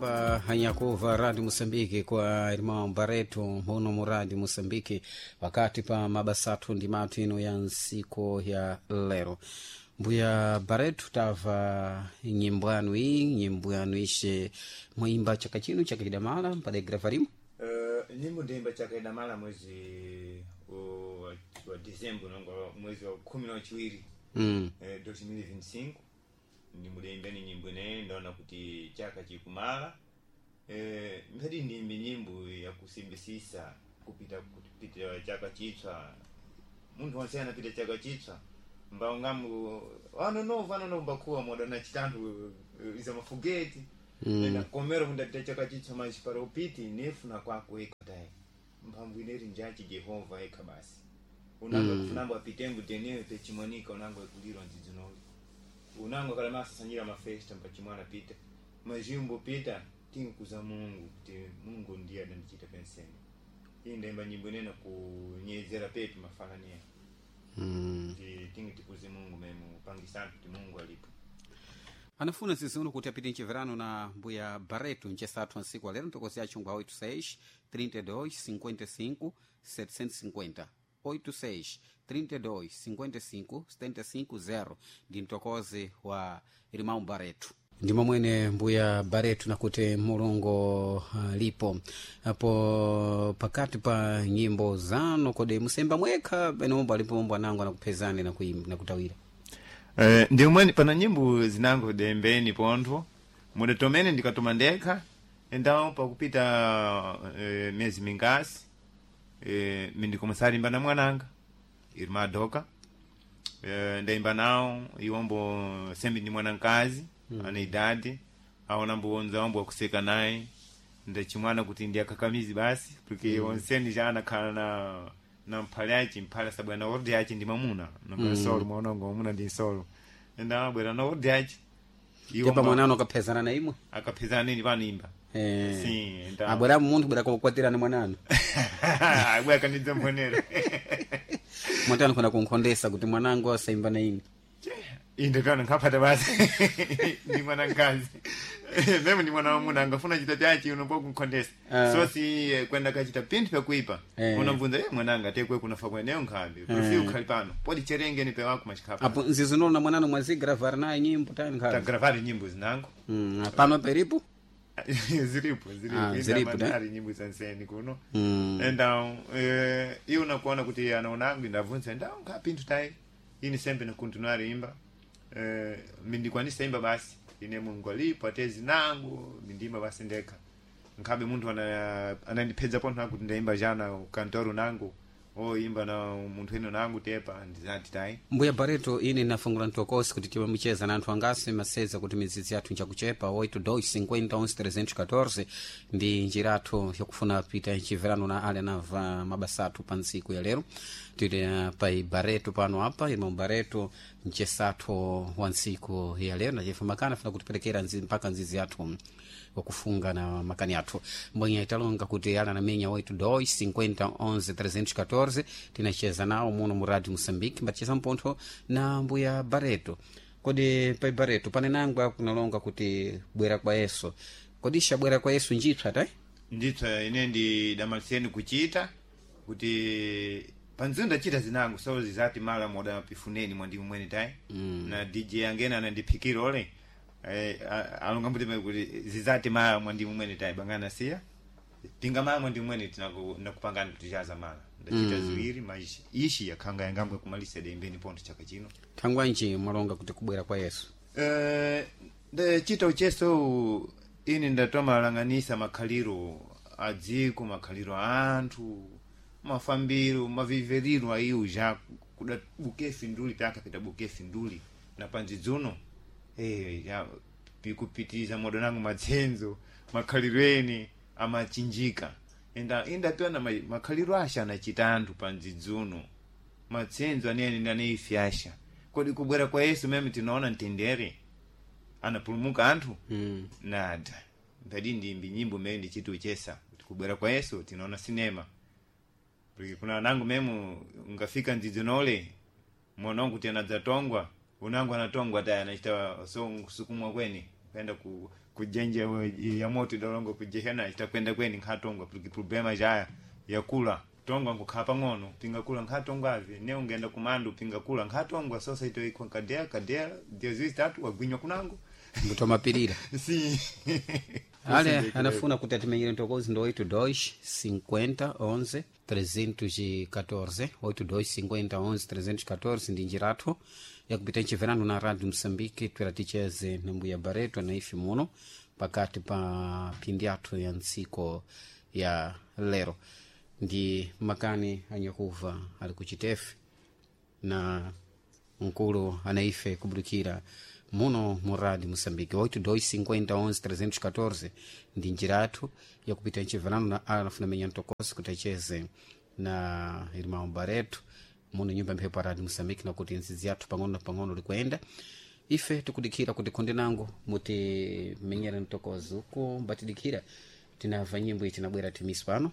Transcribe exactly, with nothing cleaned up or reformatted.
Kuimba hanyakuva Rádio Moçambique kwa irmão Barreto muno mu Rádio Moçambique wakati pa mabasathu ndi mathu ino ya nsiku ya lero. Mbuya Barreto, tava nyimbo yanu iyi, nyimbo yanu ishe mwimba chaka chino, chaka chidamala mpade gravarimo? Uh, nyimbo ndiyimba chaka idamala mwezi wa, wa dezembro, nongo mwezi wa kumi na chiwiri, mm. eh, dois mil e vinte e cinco ndimudayimba ni nyimbo ineyi. Ndaona kuti chaka chikumala, eh, mphati ndiyimbe nyimbo yakusimbisisa kupita kupita chaka chitswa. Munthu wonse anapita chaka chitswa mbawo ngamu anonovu anonovu mbakuwa moda na chitanthu, eh, iza mafugeti mm. Komero kundapita chaka chitswa machi para upiti nefuna kwako eka tayi mphamvu ineri njachi Jehova eka basi unango mm. Kufunambo apitengu tenewe pechimonika unango ekulirwa nzidzinoli unango kala masasanyira mafesta mpachimwana pita majimbo pita tinkuza Mungu kuti Mungu ndiye adandichita penseni. Iyi ndaimba nyimbo inene kunyezera pepi mafanania Mm. kuti tingi tikuze Mungu memu pangisana kuti Mungu alipo. Anafuna ziziuno kuti apite mchiverano na mbuya Barreto ncesathu nsiku alero ntokozi achungwa oito seis trinta e dois cinquenta e cinco setecentos e cinquenta, oito seis trinta e dois cinquenta e cinco setenta e cinco zero ndi mtokozi wa irmão Barreto. Ndimo mwene mbuya Barreto nakuti Mulungu uh, lipo apo pakati pa nyimbo zanu. Kodi musemba mwekha pene mombo alipo mombo anango anakuphezani nakuimba nakutawira? Eh, ndi umweni pana nyimbo zinango dembeni pontho muda tomene ndikatoma ndekha endawo pakupita eh, miyezi mingasi eh, mindikomusalimba na mwananga irima doka, eh, ndaimba nawo iwombo sembi ndi mwanankazi mm. Ana idadi aona mbuonza wambo wakuseka naye ndachimwana kuti ndi akakamizi basi porque mm. Onseni já anakhala na na mphale achi mphale asabwera na orde achi ndi mamuna nonga mm. Solo mwaonongo mamuna ndi nsolo enda abwera na orde achi. Tepa mwanano akaphezana na imwe? Akaphezana nini panimba. Eh. Sim, então. Abwera munthu bwera kukwatirana mwanano. Abwera kanidza mbonera. Mwatani kuna kunkhondesa kuti mwanangu asaimba na ine? Inde pano nkhapata basi ndi mwana mkazi meme ndi mwana wamuna angafuna chita chachi unombo kunkhondesa. Ah. So si eh, kwenda kachita pinthu pyakuipa Eh. unamvunza eh mwananga tekwe kunafa kweneyo nkhambi profi ukhali pano podi cherengeni pewako machikhapa. Apo nzizinolo na mwanano mwazigravar naye nyimbo tani nkhabe? Tagravari nyimbo zinango. Mm, pano peripo. Ziripo. Ah, ziripo. ziripo, ne? Ali nyimbo zanseni kuno. Mm. Então eh, iwo nakuona kuti anaonangu ndabvunza ndawo nkapinthu tayi ini sembe nakuntinuar imba, eh, mindikwanisa imba basi ine Mungu alipo atezi nangu mindimba basi ndekha nkhabe munthu ana- anandipedza pontho nakuti ndaimba jana kantoro nangu oimba na munthu eno nangu tepa ndizati tayi. Mbuya Barreto, ine nafungula mtokosi kuti timamucheza na anthu angasi maseza kuti midzidzi yathu njakuchepa. oito dois cinquenta onze trezentos e catorze ndi njira athu yakufuna pita mchiverano na ali anava mabasa athu pa ntsiku ya lero. Tili eh, pa Barreto pano apa irmão Barreto mchesathu wa ntsiku ya lero nachefa makana afuna kutiperekera nzi, mpaka nzizi yathu wakufunga na makani athu mbwenye italonga kuti ala anamenya oito dois cinquenta onze trezentos e catorze. Tinacheza nawo muno mu Radio Moçambique mbaticheza mpontho na mbuya Barreto. Kodi pai Barreto panenangwa kunalonga kuti bwera kwa Yesu, kodi xabwera kwa Yesu njipsa tai? Ndipsa ine ndi damaliseni kuchita kuti panziyo ndachita zinango so zizati mala moda pifuneni mwandimu mwene tayi mm. Na D J angene anandiphikira ole eh, a- alonga mbuti kuti zizati mala mwandimu mwene tayi bangana siya pinga mala mwandimu mwene tinaku- nakupangani kuti chaza mala ndachita mm. Ziwiri maisha ishi yakhanga yangambwe kumalisa dembeni pontho chaka chino. Thangwanji mwalonga kuti kubwera kwa Yesu? Eh, ndachita ucheso ine ndatomalang'anisa makhaliro a dziko, makhaliro a anthu, mafambiro maviveriro aiwo ja kuda bukefi nduli pyakapita bukefi nduli na panzidzuno eh, ya pikupitiza modo nangu matsenzo makhaliro ene amachinjika enda indapiwa ma, makhaliro asha anachita anthu panzidzuno matsenzo anene aneifyasha. Kodi kubwera kwa Yesu meme tinaona mtendere anapulumuka anthu mm. Nada mpadi ndimbi nyimbo mene ndichiti uchesa kuti kubwera kwa Yesu tinaona sinema porque kuna nangu memu ngafika ndzidzinole mwana wangu kuti anadzatongwa unangu anatongwa tayi anachita so sukumwa kweni kaenda ku Kujenje ya moto idalongo kujehena itakwenda kweni nkhatongwa porque problema jaya yakula tongwa nkukhala pang'ono pinga kula nkhatongwa ave ne ungenda kumandu pinga kula nkhatongwa sosa ito ikwa kadea kadea dia ziwiri zitatu wagwinywa kunango. Mbutomapirira. Si. Ale anafuna kuti atimenyere ntokozi ndo oito dois cinquenta onze trezentos e catorze, oito dois cinquenta onze trezentos e catorze ndi njira yakupita nchiverano na Rádio Moçambique. Twera ticheze na mbuya Bareto na ife muno pakati pa phindi athu ya ntsiko ya lero ndi makani anyakuva ali kuchitefe na mkulu anaife kubudikira muno mu Rádio Moçambique. oito dois cinquenta onze trezentos e catorze ndi njira yathu yakupita nchiverano na alafuna menya ntokosi kuti acheze na irmão Bareto muno nyumba mphepo ya Rádio Moçambique, nakuti nzizi yathu pang'ono na pang'ono likuenda. Ife tikudikira kuti khonde nango mutimenyere mtokozi uku mbatidikira tinamva nyimbo ichi nabwera timisi pano.